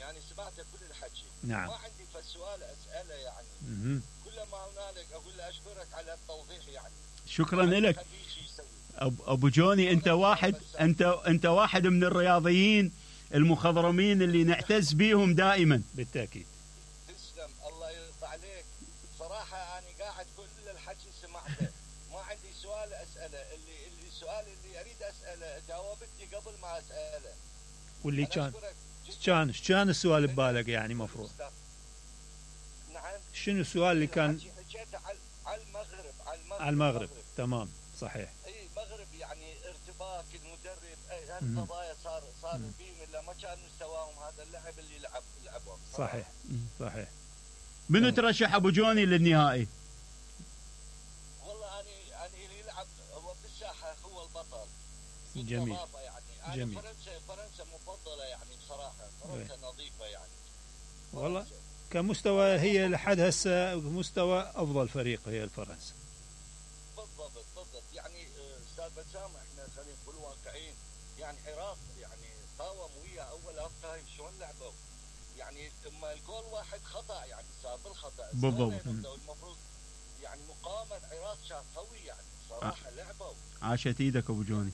يعني سمعته كل الحكي. نعم. ما عندي فالسؤال اساله يعني. كل ما هنالك اقول له اشكرك على التوضيح يعني. شكرا لك ابو جوني. انت واحد من الرياضيين المخضرمين اللي نعتز بيهم دائما. بالتاكيد. تسلم الله يرضى عليك. صراحه انا قاعد كل الحكي سمعته. ما عندي سؤال اساله. السؤال اللي اريد اساله جاوبتني قبل ما اساله. واللي كان السؤال ببالك يعني مفروض. نعم. شنو السؤال اللي كان؟ حكيته على المغرب. تمام صحيح. اي مغرب يعني ارتباك المدرب هالقضايا صار فيهم الا ما كان مستواهم هذا اللعب اللي لعبوه. صحيح. منو ترشح ابو جوني للنهائي؟ والله انا اللي يلعب هو بالساحه هو البطل. جميل. يعني جميل. فرنسا مفضله يعني بصراحه. فرنسا نظيفه يعني. والله كمستوى هي لحد هسه مستوى افضل فريق هي الفرنسا. بالضبط يعني استاذ بسام احنا خلينا نقول واقعيين يعني عراق يعني قاوم ويا اول هاف تايم شلون لعبوا يعني اما الجول واحد خطا يعني صار بالخطا. بالضبط. المفروض يعني مقاومه العراق كان قوي يعني صراحه لعبوا. عاشت ايدك ابو جوني.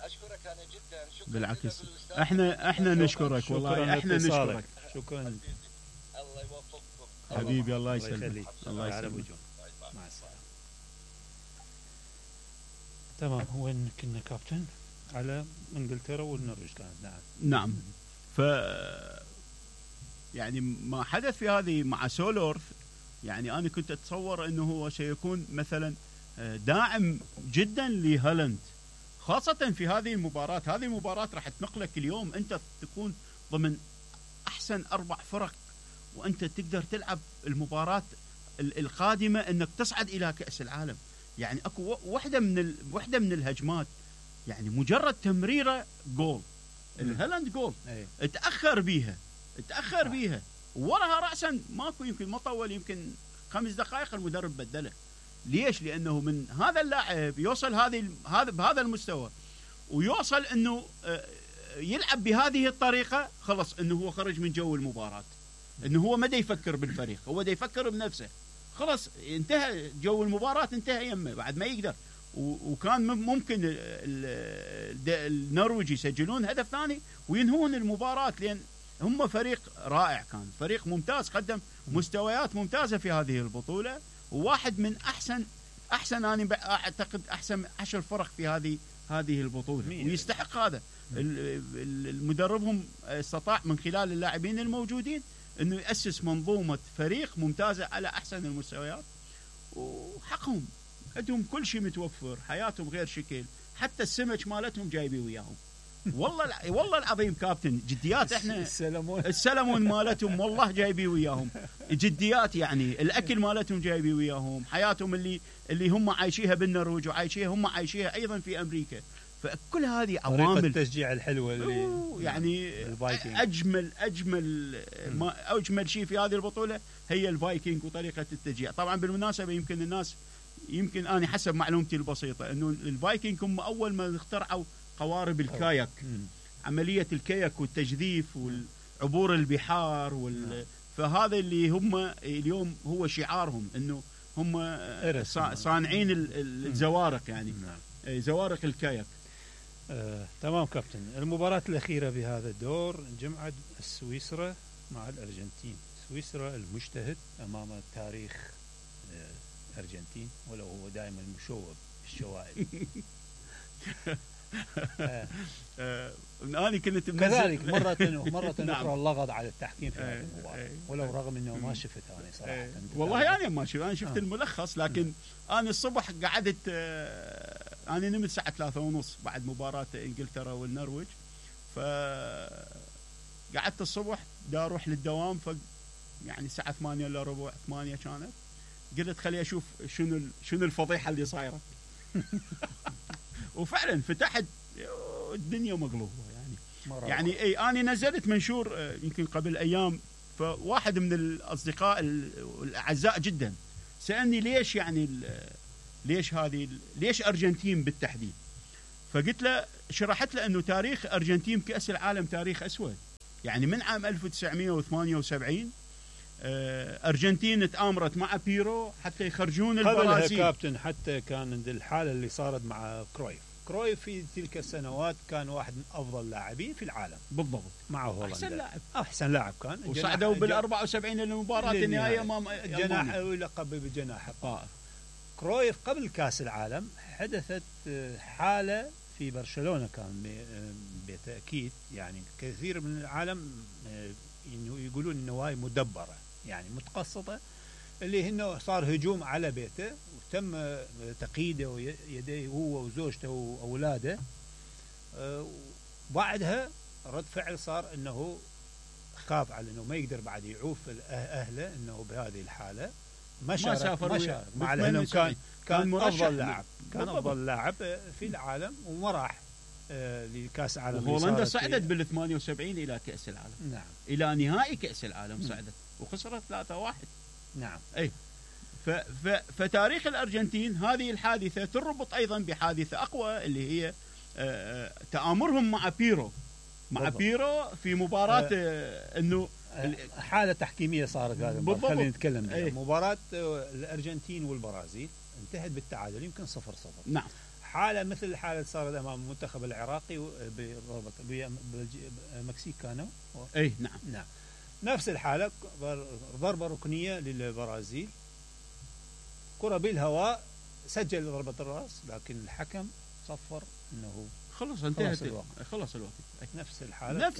اشكرك انا جدا. شكرا. بالعكس احنا نشكرك والله. احنا نشكرك. شكرا. الله يوفقكم حبيبي. الله يسلمك. الله يسلمك. مع السلامه. تمام. وين كنا كابتن؟ على انجلترا والنرويج كانت. نعم. ف يعني ما حدث في هذه مع سولورث يعني انا كنت اتصور انه هو سيكون مثلا داعم جدا لهالاند خاصة في هذه المباراة. هذه المباراة راح تنقلك اليوم أنت تكون ضمن أحسن 4 فرق وأنت تقدر تلعب المباراة القادمة أنك تصعد إلى كأس العالم. يعني أكو واحدة من الهجمات يعني مجرد تمريرة جول. الهالاند جول اتأخر بيها وراها رأسا ماكو يمكن ما طول يمكن 5 دقائق المدرب بدله. ليش؟ لأنه من هذا اللاعب يوصل بهذا المستوى ويوصل أنه يلعب بهذه الطريقة خلص أنه هو خرج من جو المباراة. أنه هو ما دا يفكر بالفريق هو دا يفكر بنفسه. خلص انتهى جو المباراة انتهى يمه بعد ما يقدر. وكان ممكن النرويج يسجلون هدف ثاني وينهون المباراة لأن هم فريق رائع. كان فريق ممتاز قدم مستويات ممتازة في هذه البطولة وواحد من أحسن أنا أعتقد أحسن 10 فرق في هذه البطولة ويستحق هذا. المدربهم استطاع من خلال اللاعبين الموجودين أنه يأسس منظومة فريق ممتازة على أحسن المستويات وحقهم عندهم كل شيء متوفر. حياتهم غير شكل حتى السمك مالتهم جايبي وياهم. والله العظيم كابتن جديات. احنا السلمون مالتهم والله جايبي وياهم جديات. يعني الاكل مالتهم جايبي وياهم. حياتهم اللي هم عايشيها بالنرويج وعايشيها هم عايشيها ايضا في امريكا. فكل هذه عوامل التشجيع الحلوه اللي يعني اجمل شيء في هذه البطوله هي الفايكنج وطريقه التشجيع. طبعا بالمناسبه يمكن انا حسب معلومتي البسيطه انه الفايكنج هم اول ما اخترعوا قوارب الكاياك. عملية الكاياك والتجذيف والعبور البحار فهذا اللي هم اليوم هو شعارهم انه هم صانعين الزوارق يعني زوارق الكاياك. تمام كابتن. المباراة الأخيرة بهذا الدور جمعت سويسرا مع الأرجنتين. سويسرا المجتهد أمام تاريخ الأرجنتين ولو هو دائما مشوب بالشوائب. أنا كنت كذلك مرة أخرى اللغط على التحكيم في هذه المباراة ولو رغم أنه ما شفتها أنا صراحة. والله أنا شفت الملخص لكن أنا الصبح قعدت أنا نمت الساعة 3:30 بعد مباراة إنجلترا والنرويج. فقعدت الصبح دا أروح للدوام يعني الساعة 8:15 8 كانت. قلت خلي أشوف شنو الفضيحة اللي صايرة. وفعلا فتحت الدنيا مقلوبة يعني اي انا نزلت منشور يمكن قبل ايام. فواحد من الاصدقاء الاعزاء جدا سالني ليش يعني ليش ارجنتين بالتحديد. فقلت له شرحت له انه تاريخ ارجنتين كأس العالم تاريخ اسود. يعني من عام 1978 أرجنتين تآمرت مع بيرو حتى يخرجون قبلها البرازيل. كابتن حتى كان عند الحالة اللي صارت مع كرويف في تلك السنوات كان واحد من أفضل اللاعبين في العالم بالضبط، مع هولندا. أحسن لاعب كان وصعدوا بال74 للمباراة النهائية أمام جناح ولقب بالجناح الطائر. كرويف قبل كأس العالم حدثت حالة في برشلونة كان بالتأكيد، يعني كثير من العالم يقولون إنه هاي مدبرة يعني متقصدة، اللي إنه صار هجوم على بيته وتم تقييده ويديه هو وزوجته وأولاده. بعدها رد فعل صار إنه خاف على إنه ما يقدر بعد يعوف أهله إنه بهذه الحالة ما شارك مع لأنه كان أفضل لاعب، كان أفضل لاعب في العالم وما راح لكأس العالم. هولندا صعدت بال78 إلى كأس العالم. نعم. إلى نهائي كأس العالم صعدت وخسرت 3-1. نعم. أي فتاريخ الأرجنتين هذه الحادثة تربط أيضا بحادثة أقوى اللي هي تآمرهم مع بيرو. بيرو في مباراة إنه حالة تحكيمية صارت. خلينا نتكلم مباراة الأرجنتين والبرازيل انتهت بالتعادل يمكن 0-0. نعم. حالة مثل الحالة اللي صارت أمام المنتخب العراقي بالمكسيك كانوا. أي نعم. نفس الحالة ضربة ركنية للبرازيل، كرة بالهواء، سجل ضربة الرأس لكن الحكم صفر إنه خلص انتهت خلص الوقت. نفس الحالة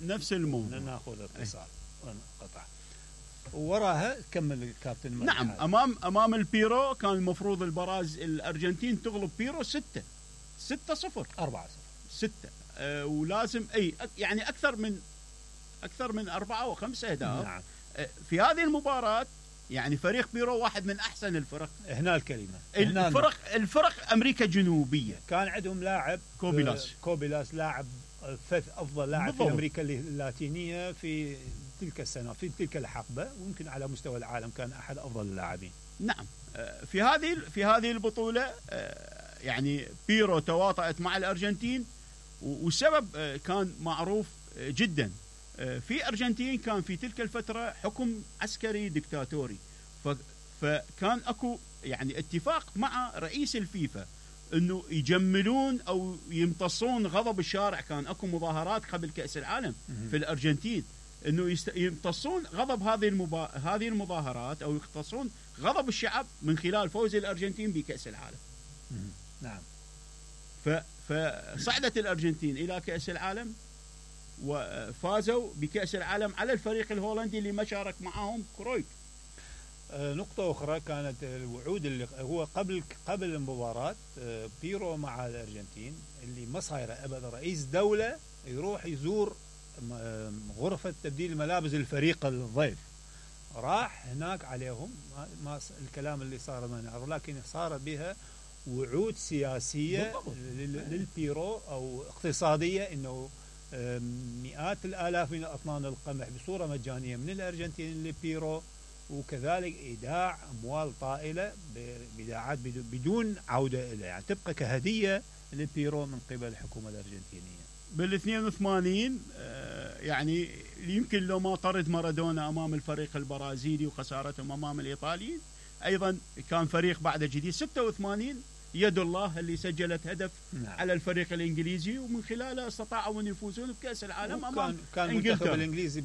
نفس الموضوع. ناخذ اتصال ونقطع ووراها كمل الكابتن. نعم. امام البيرو كان المفروض الارجنتين تغلب بيرو 6-0 4-0 ولازم يعني اكثر من 4 أو 5 اهداف. نعم. في هذه المباراة يعني فريق بيرو واحد من احسن الفرق. هنا الكلمة الفرق امريكا الجنوبية. كان عندهم لاعب كوبيلاس لاعب افضل لاعب في امريكا اللاتينية في تلك السنة في تلك الحقبة، ويمكن على مستوى العالم كان احد افضل اللاعبين. نعم. في هذه البطولة يعني بيرو تواطأت مع الارجنتين، والسبب كان معروف جدا. في أرجنتين كان في تلك الفترة حكم عسكري ديكتاتوري، فكان أكو يعني اتفاق مع رئيس الفيفا أنه يجملون أو يمتصون غضب الشارع. كان أكو مظاهرات قبل كأس العالم في الأرجنتين أنه يمتصون غضب هذه المظاهرات أو يمتصون غضب الشعب من خلال فوز الأرجنتين بكأس العالم. نعم. فصعدت الأرجنتين إلى كأس العالم وفازوا بكأس العالم على الفريق الهولندي اللي ما شارك معهم كرويف. نقطة أخرى كانت الوعود اللي هو قبل المباراة بيرو مع الأرجنتين اللي ما صايرة أبدا. رئيس دولة يروح يزور غرفة تبديل ملابس الفريق الضيف، راح هناك عليهم ما الكلام اللي صار ما نعرف، لكن صار بها وعود سياسية للبيرو أو اقتصادية إنه مئات الآلاف من أطنان القمح بصورة مجانية من الأرجنتين لبيرو، وكذلك إيداع أموال طائلة بإيداعات بدون عودة إليه، يعني تبقى كهدية لبيرو من قبل الحكومة الأرجنتينية. بال82 يعني يمكن لو ما طرد مارادونا أمام الفريق البرازيلي وخسارتهم أمام الإيطاليين، أيضا كان فريق بعد جديد. 86 يد الله اللي سجلت هدف على الفريق الإنجليزي، ومن خلاله استطاعوا أن يفوزون بكأس العالم أمام كان المنتخب الإنجليزي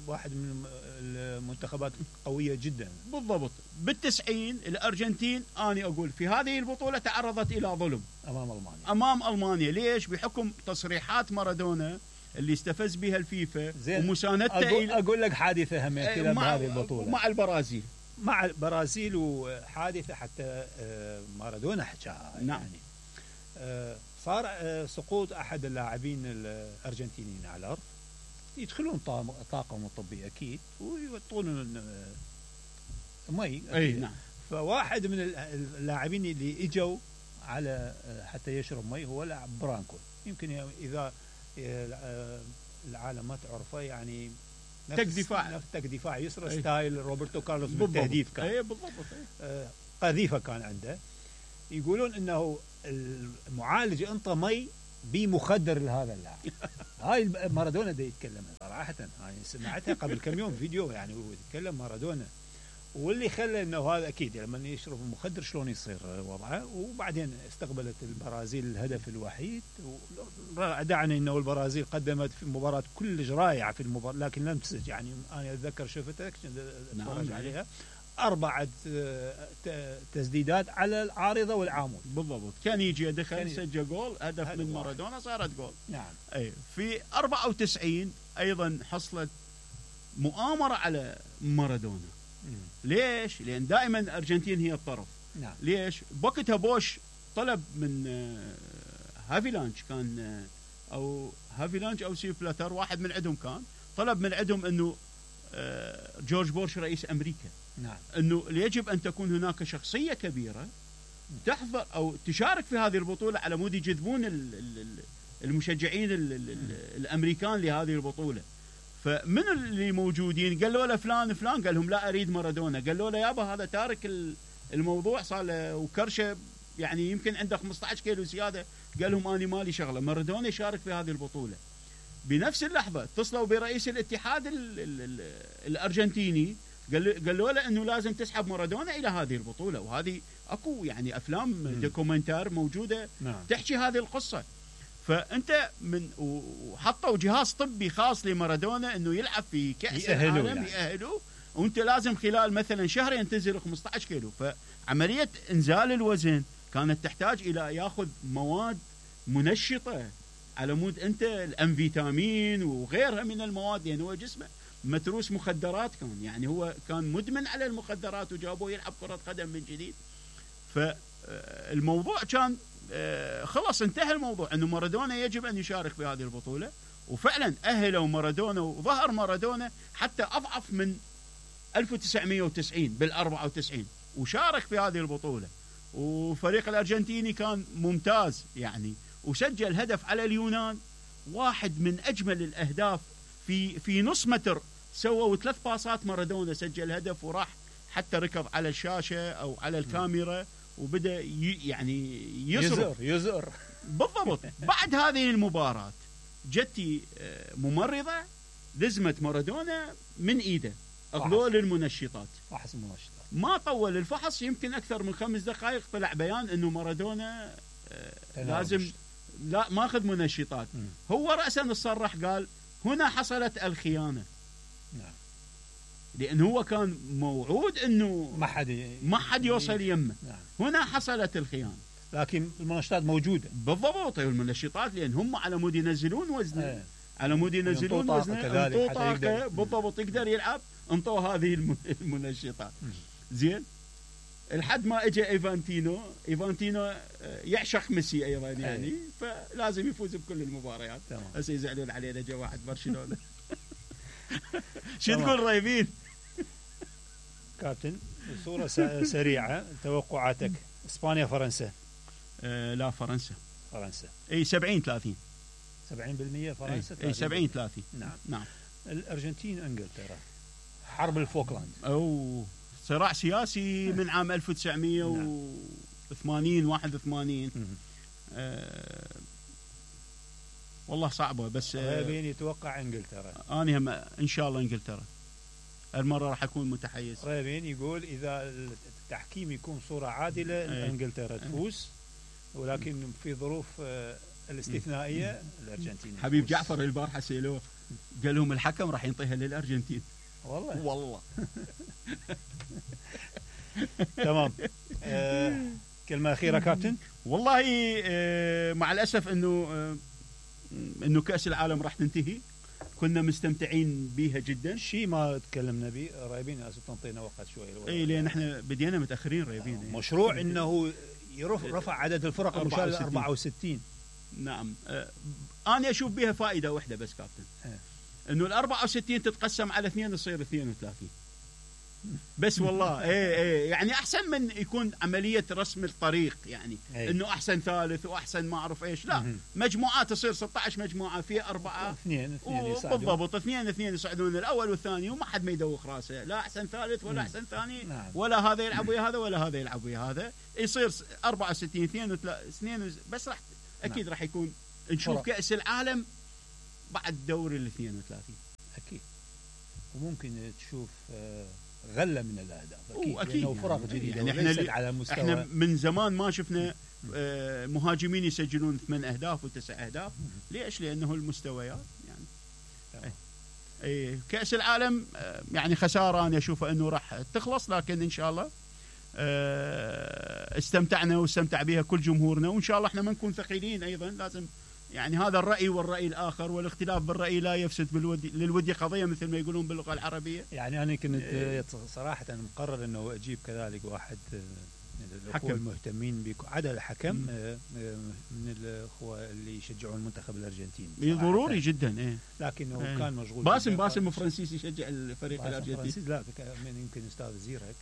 واحد من المنتخبات قوية جدا. بالضبط. بال90 الأرجنتين أنا أقول في هذه البطولة تعرضت إلى ظلم أمام ألمانيا. ليش؟ بحكم تصريحات مارادونا اللي استفز بها الفيفا ومساندته. أقول لك حادثة همية بهذه البطولة مع البرازيل وحادثة حتى مارادونا حكاها. نعم. يعني صار سقوط أحد اللاعبين الأرجنتينيين على الأرض، يدخلون طاقم طبي أكيد ويوطون مي. نعم. فواحد من اللاعبين اللي إجوا على حتى يشرب مي هو لاعب برانكو. يمكن إذا العالم ما تعرفه يعني تك دفاع يسرى ستايل روبرتو كارلوس بالتهديف كان. بالضبط. قذيفة كان عنده. يقولون انه المعالج انطى مي بمخدر لهذا اللاعب. هاي مارادونا دا يتكلم صراحة، هاي سمعتها قبل كم يوم فيديو يعني هو يتكلم مارادونا، واللي خلى انه هذا اكيد لما يشرب المخدر شلون يصير وضعه. وبعدين استقبلت البرازيل الهدف الوحيد، ودعني انه البرازيل قدمت في مباراة كلش رائعة في المباراة، لكن لم تسجل. يعني انا اتذكر شفتها اتفرج عليها 4 تسديدات على العارضة والعامود بالضبط، كان يجي يدخل سجل جول، هدف من مارادونا صارت جول. نعم. اي في 94 ايضا حصلت مؤامرة على مارادونا. ليش؟ لأن دائما الأرجنتين هي الطرف. نعم. ليش؟ بوقتها بوش طلب من هافيلانش كان أو هافيلانش أو سيف بلاتر، واحد من عندهم كان طلب من عندهم أنه جورج بوش رئيس أمريكا، نعم، أنه يجب أن تكون هناك شخصية كبيرة تحضر أو تشارك في هذه البطولة على مود يجذبون المشجعين الأمريكان لهذه البطولة. فمن اللي موجودين قالوا له فلان فلان، قال لهم لا أريد مارادونا. قالوا له يابا هذا تارك الموضوع صار له وكرشه، يعني يمكن عنده 15 كيلو زيادة. قال لهم أنا مالي شغلة، مارادونا يشارك في هذه البطولة. بنفس اللحظة اتصلوا برئيس الاتحاد الأرجنتيني، قالوا له أنه لازم تسحب مارادونا إلى هذه البطولة. وهذه أكو يعني أفلام دوكومنتار موجودة تحكي هذه القصة. فأنت من وحطوا جهاز طبي خاص لمارادونا أنه يلعب في كأس العالم يعني. يأهلوا، وأنت لازم خلال مثلا شهرين تنزل 15 كيلو. فعملية إنزال الوزن كانت تحتاج إلى يأخذ مواد منشطة على مود أنت الأنفيتامين وغيرها من المواد، لأن هو جسمه متروس مخدرات كان، يعني هو كان مدمن على المخدرات وجابوه يلعب كرة قدم من جديد. فالموضوع كان خلاص انتهى الموضوع أنه مارادونا يجب أن يشارك في هذه البطولة. وفعلا أهلوا مارادونا وظهر مارادونا حتى أضعف من 1990 بال94 وشارك في هذه البطولة. وفريق الأرجنتيني كان ممتاز يعني، وسجل هدف على اليونان، واحد من أجمل الأهداف في نص متر. سووا 3 باصات، مارادونا سجل هدف وراح حتى ركض على الشاشة أو على الكاميرا وبدأ يعني يزر بالضبط. بعد هذه المباراة جتي ممرضة لزمت مارادونا من إيده، أخذوه للمنشطات، فحص المنشطات. ما طول الفحص، يمكن أكثر من 5 دقائق طلع بيان أنه مارادونا لازم لا ماخذ منشطات. هو رأسا صرح قال هنا حصلت الخيانة. نعم. لأنه هو كان موعود أنه ما حد يوصل يمه. نعم. هنا حصلت الخيانة، لكن المنشطات موجودة بالضبط. المنشطات لأن هم على مود ينزلون وزنه، على مود ينزلون وزنه، انطوا طاقة بالضبط يقدر يلعب، انطوا هذه المنشطات. زين، لحد ما اجى ايفانتينو يعشق ميسي ايضا يعني، فلازم يفوز بكل المباريات. هسه يزعلون علينا جا واحد برشلونة. شو تقول رايبين؟ كابتن صورة سريعة، توقعاتك. اسبانيا فرنسا؟ لا فرنسا اي 70-30. 70% فرنسا. اي 70-30. نعم. الارجنتين انجلترا، حرب الفوكلاند او صراع سياسي من عام 1980 81. والله صعبة، بس ريبين يتوقع انجلترا. انا هم ان شاء الله انجلترا المرة راح اكون متحيز. ريبين يقول اذا التحكيم يكون صورة عادلة انجلترا تفوز، ولكن في ظروف الاستثنائية الارجنتين. حبيب جعفر البارحة سيلوه قال لهم الحكم راح ينطيها للارجنتين. والله تمام. كلمة أخيرة كابتن. والله مع الأسف إنه كأس العالم راح تنتهي، كنا مستمتعين بيها جدا. شيء ما تكلمنا به رايبين، لازم تنطينا وقت شوي. اي لأن احنا بدينا متأخرين رايبين. مشروع إنه رفع عدد الفرق المشاركة 64. نعم. أنا أشوف بها فائدة واحدة بس كابتن، إنه 64 تتقسم على 2 تصير 32 بس. والله ايه يعني احسن من يكون عمليه رسم الطريق، يعني انه احسن ثالث واحسن ما اعرف ايش. لا، مجموعات تصير 16 مجموعه في 4 2 بالضبط، 2 يصعدون الاول والثاني، وما حد ما يدوخ راسه، لا احسن ثالث ولا احسن ثاني. ولا هذا يلعب ويا هذا ولا هذا يلعب ويا هذا. يصير 64 2 بس راح اكيد راح يكون نشوف فرق. كأس العالم بعد دوري ال 32. اكيد. وممكن تشوف غله من الاهداف اكيد، أكيد لانه فرق جديده يعني وليست على مستوى. احنا من زمان ما شفنا مهاجمين يسجلون 8 اهداف و9 اهداف. ليش؟ لانه المستويات يعني كأس العالم يعني خساره انا اشوفه انه راح تخلص، لكن ان شاء الله استمتعنا واستمتع بها كل جمهورنا، وان شاء الله احنا ما نكون ثقيلين ايضا. لازم يعني هذا الرأي والرأي الآخر والاختلاف بالرأي لا يفسد للودي قضية، مثل ما يقولون باللغة العربية. يعني أنا كنت صراحة مقرر أنه أجيب كذلك واحد من الأخوة المهتمين عدا الحكم من الأخوة اللي يشجعون المنتخب الأرجنتيني. ضروري جدا. لكنه كان مشغول. باسم فرانسيسي يشجع الفريق الأرجنتيني. لا يمكن أستاذ زيرك.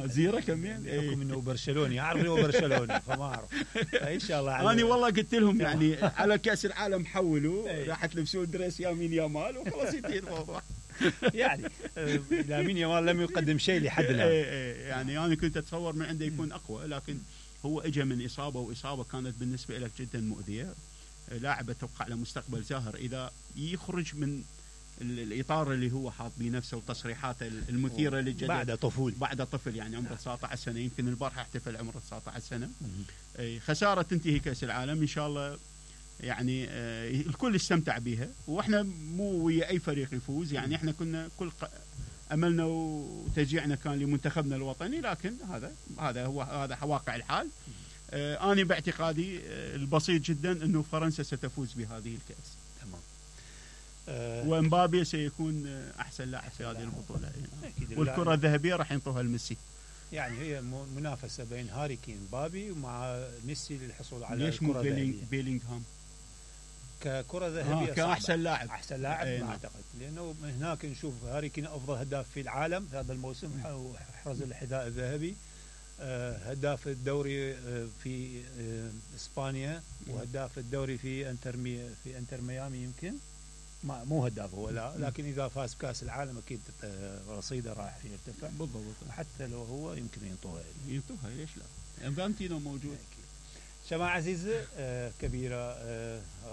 زيرك كمان. بحكم انه برشلوني، اعرف انه برشلوني فما اعرف. فان شاء الله انا والله قلت لهم يعني على كاس العالم حولوا راح تلبسون دريس يمين يامال وخلاص ينتهي الموضوع. يعني لامين يامال لم يقدم شيء لحد الان. يعني انا كنت اتصور من عنده يكون اقوى، لكن هو اجى من اصابه، واصابه كانت بالنسبه له جدا مؤذيه. لاعب اتوقع له مستقبل زاهر اذا يخرج من الاطار اللي هو حاط بنفسه وتصريحاته المثيره للجدل بعد طفل يعني عمره 19 سنه. يمكن البارحه احتفل عمره 19 سنه. خساره تنتهي كاس العالم ان شاء الله. يعني الكل استمتع بها، واحنا مو ويا اي فريق يفوز. يعني احنا كنا كل املنا وتشجيعنا كان لمنتخبنا الوطني، لكن هذا واقع الحال. انا باعتقادي البسيط جدا انه فرنسا ستفوز بهذه الكاس. تمام. ومبابي سيكون احسن لاعب في هذه البطوله. والكره الذهبيه راح ينطوها لميسي. يعني هي منافسه بين هاري كين مبابي ومع ميسي للحصول على ليش الكره الذهبيه. بيلينغهام ككره ذهبيه كاحسن لاعب. احسن لاعب ما اعتقد، لانه هناك نشوف هاري كين افضل هداف في العالم في هذا الموسم، وحرز الحذاء الذهبي. هداف الدوري في اسبانيا، وهداف الدوري في انتر ميامي. يمكن مو هداف هو، لا، لكن اذا فاز بكاس العالم اكيد رصيده راح يرتفع. بالضبط. حتى لو هو يمكن ينطوها ليش لا؟ انفانتينو موجود. شماعة عزيزة كبيرة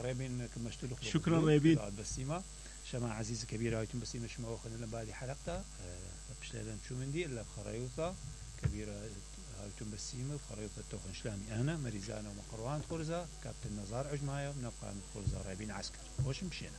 ريبين كمشتلوك. شكرا ريبين بسيمة شماعة عزيزة كبيرة هايتم بسيمة شما وخلنا بعد حلقة بشلالن شو مندي إلا بخريوطة كبيرة هايتم بسيمة بخريوطة توخن شلامي أنا مريزانا ومقروان خرزة كابتن نزار عجماية ونبقى من خرزة ريبين عسكر وش مشينا.